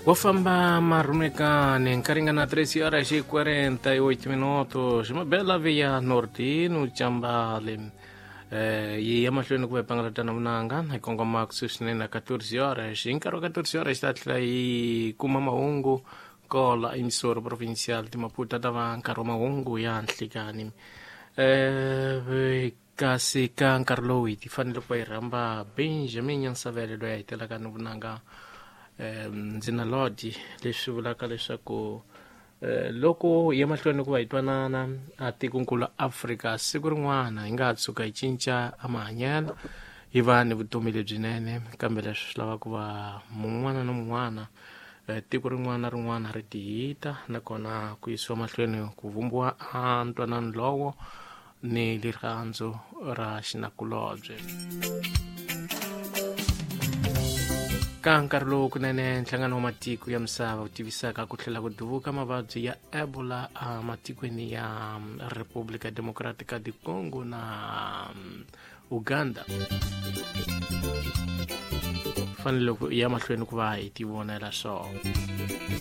Wo famba marhumekani nkaringana 3 horas e 48 minutos. Uma bela via Nordino Chambale. Yi ya mahlweni ku va hi pangalatana vunanga hi kongoma kusuhi swinene na 14 horas. Hi nkarhi wa 14 horas ta tlhela yi kuma mahungu kola emissora provincial de Maputo ta va nkarhi wa mahungu ya nhlikani. Kasi ka nkarhi lowu hi ti fanele ku va hi rhamba Benjamin Nyansavele loyi a hetelaka ni vunanga ndzi na lodi, leswi vulaka leswaku loko hi ya mahlweni ku va hi twanana a tikonkulu Afrika, siku rin'wana hi nga ha tshuka hi cinca a mahanyelo hi va ni vutomi lebyinene. Kambe leswi swi lava ku va mun'wana na mun'wana, tiko rin'wana na rin'wana ri tihita, nakona ku yisiwa mahlweni ku vumbiwa a ntwanano lowo ni rirhandzu ra xinakulobye. Ka nkarhi lowu kunene nhlangano wa matiko ya misava wu tivisaka ku tlhela ku duvuka mavabyi ya Ebola ematikweni ya República Democrática de Congo na Uganda, fanele ku ya mahlweni ku va hi tivonela swona.